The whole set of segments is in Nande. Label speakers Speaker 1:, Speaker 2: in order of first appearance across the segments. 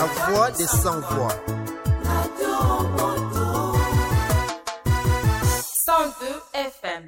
Speaker 1: La voix des sans voix.
Speaker 2: 102 FM.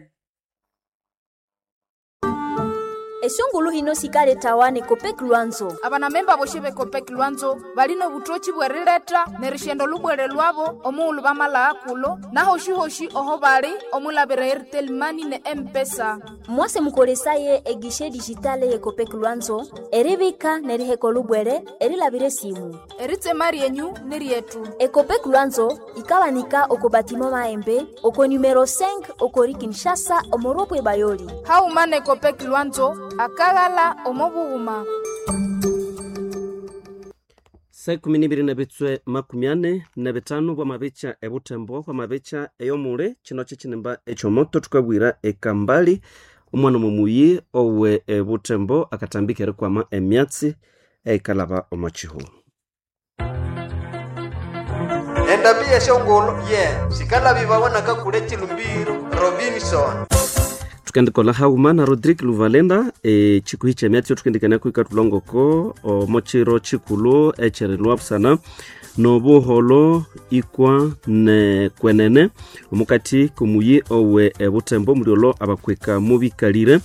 Speaker 3: Esungulu hino sikaletawane Copec Lwanzo.
Speaker 2: Abanamemba boshi be Copec Lwanzo balina obutoki bwerileta nerishendo lubwere lwabo omughulhu bamala kulo nahoshi-hoshi oho bali omulabira Airtel Money ne M-Pesa.
Speaker 3: Mwase mukolesaye egishe digitale ye Copec Lwanzo eribika neriheka olubwere erilabira esimu.
Speaker 2: Eritsema ryenyu ni ryetu.
Speaker 3: Ecopec Lwanzo ikabanika oko batimo maembe oko numero 5 okori Kinshasa omoropwe bayoli.
Speaker 2: Hauma ne Copec Lwanzo akaghala omo bughuma.
Speaker 4: Saa ikumi n'ibiri na bitswe 45 bwamabica ebutembo bwamabica eyomule kino kyekinimba ekyomoto tukabwira ekambali omwana omumuyi owe ebutembo akatambika erikwama emyatsi eikalaba omo kihuu.
Speaker 5: Endabi yeshongolo ye sikalabibawa nakakule chilumbiro Robinson.
Speaker 4: Tukendikola hauma na Rodrigue Luvalenda chikuhi cha myatsi tukendikania kuika tulongoko omochiro chikulu echerelwa busana nobuholo ikwa ne kwenene omukati kumuyi owe ebutembo muliolo abakweka mubikalire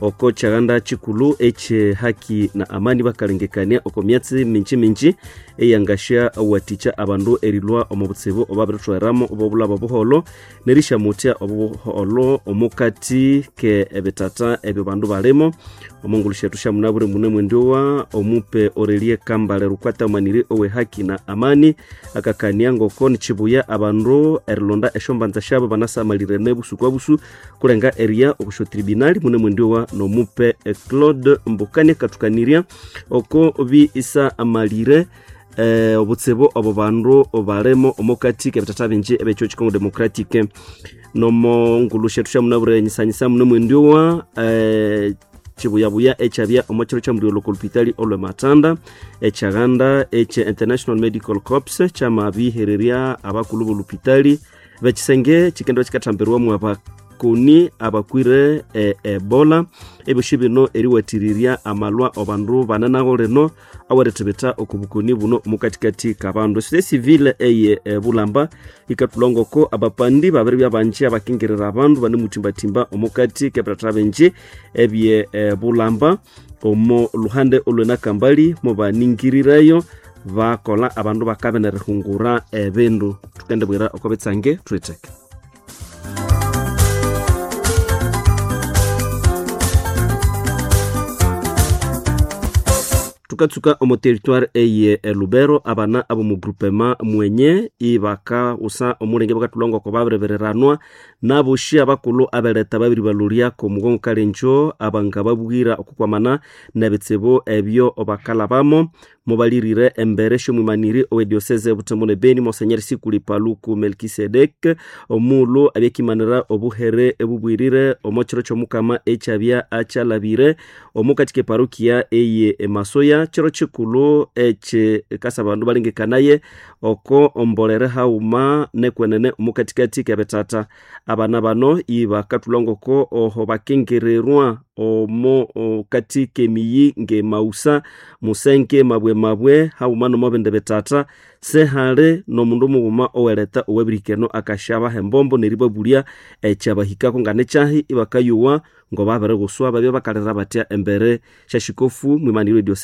Speaker 4: oko chaganda chikulu eche haki na amani bakalengekania oko myatsi minji minji eyangasha waticha abandu erilwa omu butsibu obabiritweramo obobulaba obuholo nerishamutya obuholo omukati ke ebitata ebyo bandu balimo omongulu shetu shamunabure mune mwendiwa omupe Aurelie Kambale Rukwata maniri owe haki na amani akakania ngoko nichibuya abandu erilonda eshombanza shabo banasamalirene busu kwa busu kulenga eria okusho tribunali mune mwendiwa nomupe Claude Mbukani katukanirya oko bi isa amalire obutsibu obo bandu balemo omukati kebitata bingi ebekyo Congo Democratique nomo ngulu shetu shamunabure nyisanyisa mune mwendiwa chibuyabuya echabya omokiro kya muliolo kolupitali olwe matanda echaghanda eche International Medical Corps kyamabihererya abakulu bolupitali bekisenge chikendwa chikathambirwamu abakoni abakwire Ebola ebyoshi bino eriwathirirya amalwa abandu bananago lino awerithibitha okubukoni buno omukatikati kabandu. Société civile eye Bulamba ikathulongoko abapandi babiri byabanji abakingirira abandu banemuthimbatiimba omukati kebithatha bingi ebye Bulamba omo luhande olwenakambali mubaningirirayo bakola abandu bakabenerihungura ebindu. Tukendibwira oko bitsange thuitheke. Tukatsuka omo territoire eye Lubero abana abo mu groupement mwenye ibaka usa omulenge bakathulonga ko babirebereranwa naboshi abakulu abeleta babiri balulya ko mugongo kalenjo abanga babwira okukwamana nebitsibu ebyo bakalabamo mubalirire embere shomwimaniri owe diocese Butembo ne Beni Monseigneur Sikuli Paluku Melkisedek omulo abyekimanira obuhere ebubwirire omokiro kyomukama echabya achalabire omukati ke parokia eye Masoya chiro chikulu eche kasa bandu balengekanaye oko ombolere hauma nekwenene omukatikati kebetata abana bano ibakathulongoko oho bakengererwa omo kati kemiyi ngemausa musenke mabwe mabwe hauma nomobende betata sehale nomundu mughuma oweleta owebirikeno akashaba hembombo neribabulya ekyabahikako nganekyahi ibakayuwa ngobabiriguswa babya bakalira batya embere syashikofu mwimaniro diocese.